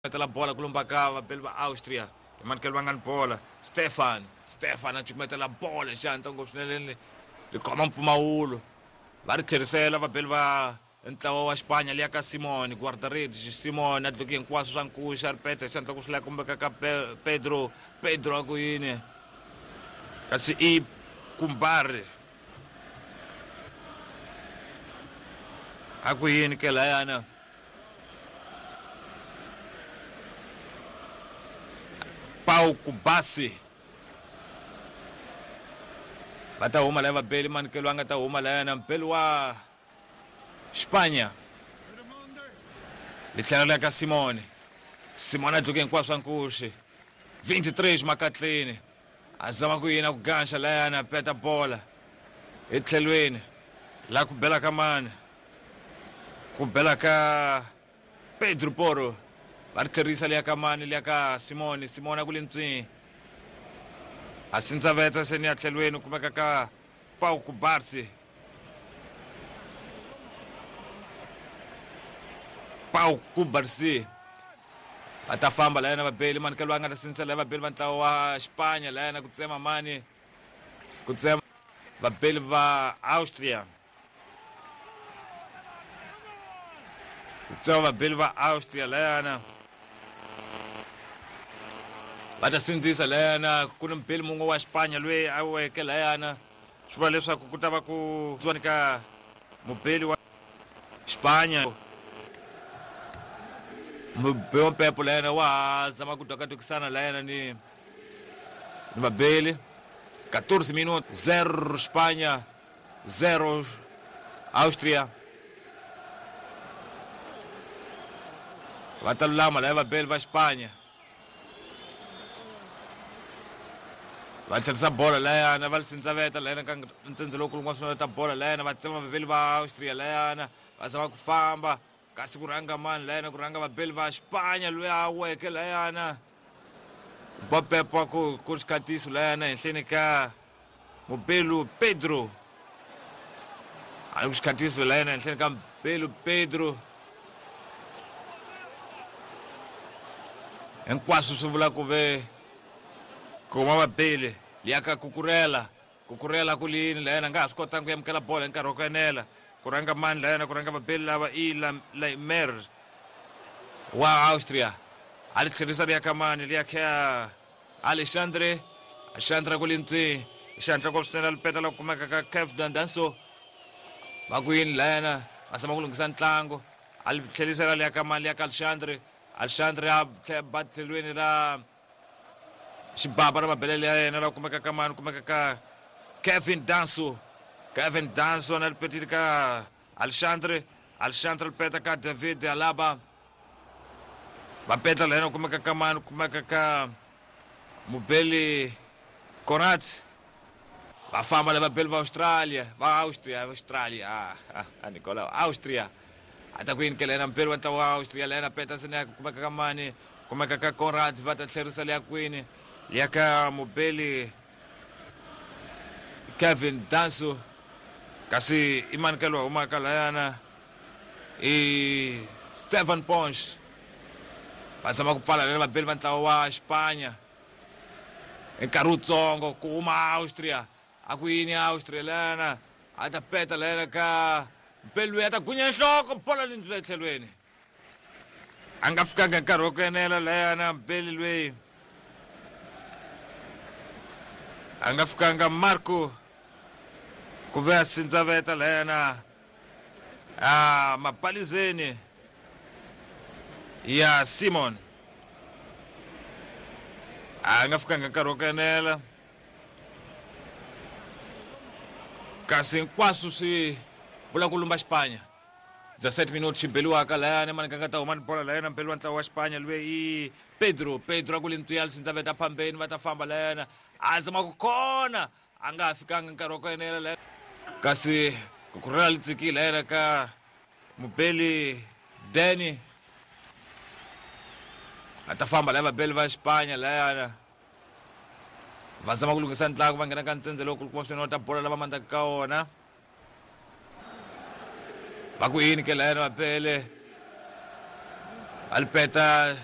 Cukumetela bola ku lumba ka vabeli va Austria. Hi manikelo va nga ni bola. Stefan, Stefan a cukumetela bola hi xihatla ngopfu swinene ri khoma mpfumawulo. Va ri tlherisela vabeli va ntlawa wa Xipanya liya ka Simon Guardaredi. Simon a dluki hinkwaswo swa nkuxa a ri peta hi xihatla ku swi laya kumbeka ka Pedro. Pedro a ku yini? Kasi i Kumbari. A ku yini ke layana? Pau Kubasi va ta huma laya vabeli manikelo a nga ta huma layana mbeli wa Xipanya litlhela la ka Simone Simone a dluke hinkwaswo swa nkuxi 23 makatleni a zama ku yina ku ganxa layana peta bola etlhelweni la ku bela ka mani ku bela ka Pedro Porro va ri tlherisa liya ka mani liya ka Simone Simone a ku le ntswini a sindzavetsa se ni ya tlhelweni kumeka ka Pau Kubarsi Pau Kubarsi va ta famba layana vabeli mani ka loyi a nga ta sindzisa laya vabeli va ntlawa wa Xipanya layana ku tsema mani ku tsema vabeli va Austria Tseva vabeli va Austria layana va ta sindzisa layana ku ni mubeli mun'we wa Xipanya loyi a weke layana swi vula leswaku ku ta va ku tswani ka mubeli wa Xipanya mubeli wa mpepo layana wa ha zama ku dokadokisana layana ni ni vabeli 14 minutos 0 Xipanya 0 Austria va ta lulama laya vabeli va Xipanya va tlherisa bola layana va sindzaveta layana ka ntsendze lowukulu ngopfu swinene ta bola layana va tsema vabeli va Austria layana va zama ku famba kasi ku rhanga mani layana ku rhanga vabeli va Xipanya loyi a weke layana ba pepa ku ku xikhatiso layana henhleni ka Mubelu Pedro a ku xikhatiso layana henhleni ka Mubelu Pedro hinkwaswo swi vula ku ve kuma vabeli liya ka kukurela kukurela ku lini layena a nga ha swi kotanga ku amukela bolo hi nkarhi wa ku enela ku rhanga mani layena ku rhanga vabeli lava i Laimer wa Austria a ri tlherisa liya ka mani liya kha Alexandre Alexandre ku lintswi xihatla ku swinene lipeta la kumeka ka Kev Dandanso va ku yini layena va zama ku lunghisa ntlangu a li tlherisela liya ka mani liya ka Alexandre Alexandre a ba tlhelweni ra xibaba ra mabelele ya yena la kumeka ka mani kumeka ka Kevin Danso Kevin Danso na lipetile ka Alexandre Alexandre lipeta ka David Alaba va petla la yena kumeka ka mani kumeka ka mubeli Konrad va famba la vabeli va Australia va Austria Australia ah, ah, ah Nicola Austria a ta ku yini ke lena mubeli wa ntlawa wa Austria la yena Peterson ya kumeka ka mani kumeka ka Konrad va ta tlherisa liya kwini liya ka mubeli Kevin Danso kasi i mani ka loyi humaka layana i Stefan Ponch va zama ku pfala lena vabeli va ntlawa wa Xipanya hi nkarhi wutsongo ku huma Austria a ku yini Austria lana a ta peta lena ka mpeli loyi a ta gunya nhloko bola ni ndlula etlhelweni a nga fikanga nkarhi wa ku enela layana mpeli loyi a nga fikanga Marco ku ve a sindzaveta layana a mapalizeni ya Simon a nga fikanga nkarhi wa ku enela kasi hinkwaswo swi vula ku lumba Xipanya dza 7 minutes xi beliwaka layani mani ka nga ta huma ni bola layana mbeli wa ntlawa wa Xipanya loyi i Pedro Pedro a ku le ntuyali sindzaveta phambeni va ta famba layana a zama ku khona a nga ha fikanga nkarhi wa ku enela la kasi ku kurhela litsikile layena ka mubeli Danny a ta famba laya vabeli va Xipanya layana va zama ku lunghisa ntlangu va nghena ka ntsendze lowu kulukumba swinene wa ta bola lava mandzaka ka wona va ku yini ke layana vabele va lipeta